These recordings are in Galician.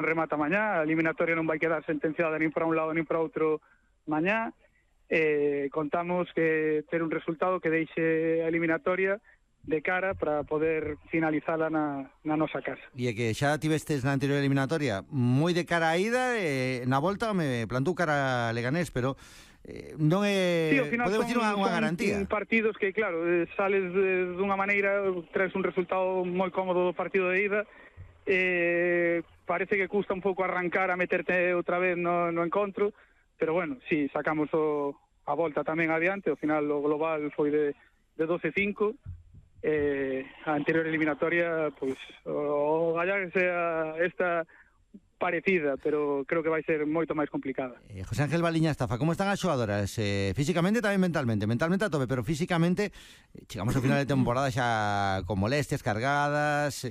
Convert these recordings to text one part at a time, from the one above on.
remata mañá, a eliminatoria non vai quedar sentenciada nin para un lado nin para outro mañá. Contamos que ter un resultado que deixe a eliminatoria de cara para poder finalizala na nosa casa. E que xa tivestes na anterior eliminatoria moi de cara a ida, na volta me plantou cara a Leganés, pero non é, sí, podemos dicir unha garantía. Son partidos que, claro, sales dunha maneira, traes un resultado moi cómodo do partido de ida, parece que custa un pouco arrancar a meterte outra vez no encontro, pero bueno, sí, sacamos a volta tamén adiante, ao final o global foi de 12-5, a anterior eliminatoria, pois, o gallar que sea esta parecida, pero creo que vai ser moito máis complicada. José Ángel Valiña Estafa, como están as xogadoras? Físicamente tamén mentalmente a tope, pero físicamente chegamos ao final de temporada xa con molestias cargadas.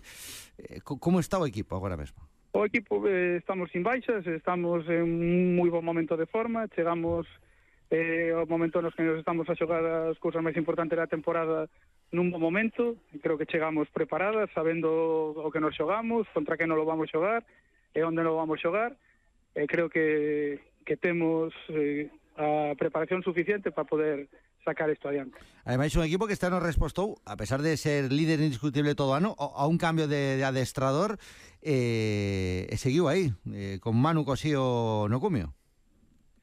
Como está o equipo agora mesmo? O equipo estamos sin baixas, estamos en un moi bon momento de forma, chegamos ao momento nos que nos estamos a xogar as cousas máis importantes da temporada nun bon momento, creo que chegamos preparadas, sabendo o que nos xogamos, contra que non lo vamos xogar, e onde non vamos xogar, creo que temos a preparación suficiente para poder sacar isto adiante. Ademais, un equipo que este ano respostou, a pesar de ser líder indiscutible todo ano, a un cambio de adestrador, e seguiu aí, con Manu Cosío no cumio.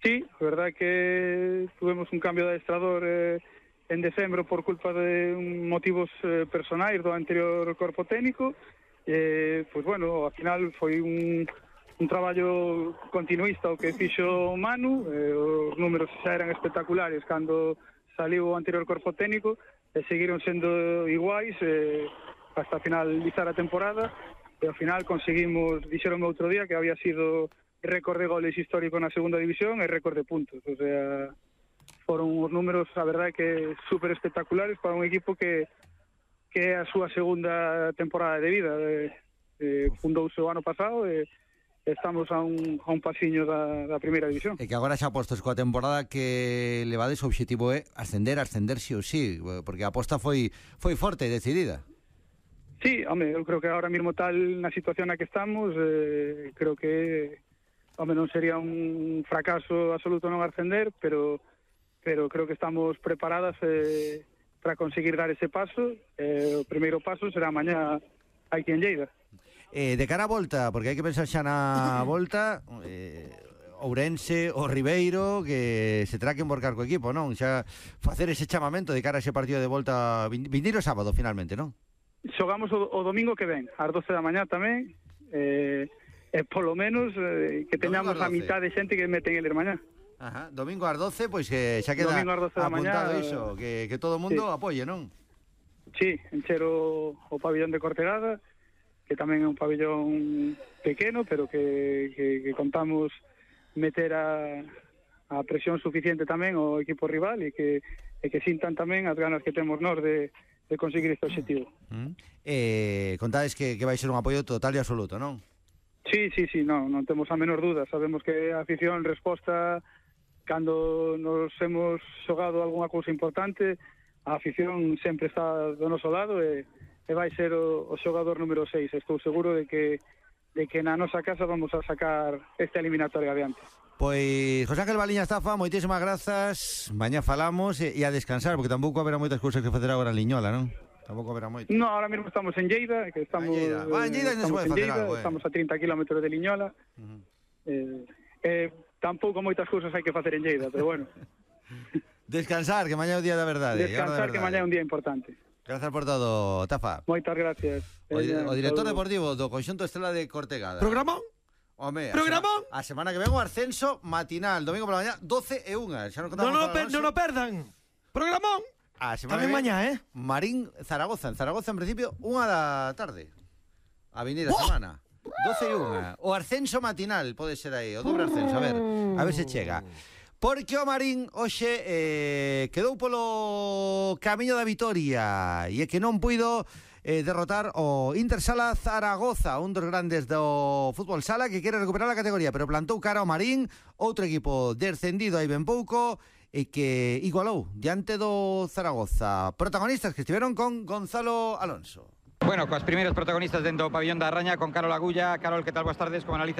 Sí, a verdad que tuvemos un cambio de adestrador en decembro por culpa de motivos personais do anterior corpo técnico. Pois bueno, ao final foi un traballo continuista o que fixo Manu, os números xa eran espectaculares cando saliu o anterior corpo técnico e seguiron sendo iguais hasta finalizar a temporada, e ao final conseguimos, dixeronme outro día que había sido récord de goles histórico na segunda división e récord de puntos, o sea, foron os números, a verdade, que super espectaculares para un equipo que é a súa segunda temporada de vida. Fundouse o ano pasado e estamos a un pasiño da primeira división. E que agora xa postos coa temporada que levades o obxectivo é ascender sí ou sí, porque a aposta foi forte e decidida. Sí, home, eu creo que ahora mesmo tal na situación na que estamos, creo que non sería un fracaso absoluto non ascender, pero creo que estamos preparadas para conseguir dar ese paso. O primeiro paso será mañá aquí en Lleida. De cara a volta, porque hai que pensar xa na volta, Ourense, o Ribeiro, que se terá que emborcar co equipo, non? Xa facer ese chamamento de cara a ese partido de volta vindeiro sábado, finalmente, non? Xogamos o domingo que ven, ás 12 da mañá tamén, polo menos que teñamos a mitad de xente que meten eles mañá. Ajá, domingo ás 12, pois xa queda apuntado iso, que todo o mundo apoie, non? Sí, encher o pabillón de Cortegada, que tamén é un pabillón pequeno, pero que contamos meter a presión suficiente tamén ao equipo rival e que sintan tamén as ganas que temos nós de conseguir este objetivo. Contades que vai ser un apoio total e absoluto, non? Sí, non temos a menor duda. Sabemos que a afición resposta cando nos hemos xogado algunha cousa importante, a afición sempre está do noso lado e vai ser o xogador número 6. Estou seguro de que na nosa casa vamos a sacar esta eliminatoria adiante. Pois, José Ángel Valiña Estafa, moitísimas grazas. Mañá falamos e a descansar, porque tampouco haberá moitas cousas que facer agora en Liñola, non? Tampouco haberá moito. No, ahora mesmo estamos en Lleida, que estamos en Lleida non se pode facer algo, estamos a 30 kilómetros de Liñola. Tampouco moitas cousas hai que facer en Lleida, pero bueno. Descansar, que mañá é o día da verdade. Descansar, que mañá é un día importante. Grazas por todo, Tafa. Moitas gracias. O director deportivo do Conxunto Estrela de Cortegada. Programón? Home, programón? A semana que ven o ascenso matinal, domingo pola mañá, 12 e 1. Xa non o perdan. Programón? A semana tamén mañá, Marín Zaragoza. En Zaragoza, en principio, 1 da tarde. A vindeira semana. 12 e 1. O ascenso matinal pode ser aí, o dobre ascenso, a ver se chega. Porque o Marín hoxe quedou polo camiño da vitoria e é que non puido derrotar o Intersala Zaragoza, un dos grandes do fútbol sala que quere recuperar a categoría, pero plantou cara ao Marín, outro equipo descendido aí ben pouco e que igualou diante do Zaragoza. Protagonistas que estiveron con Gonzalo Alonso. Bueno, coas primeiras protagonistas dentro do pabillón da Raña con Carol Agulla. Carol, que tal? Boas tardes, como analizas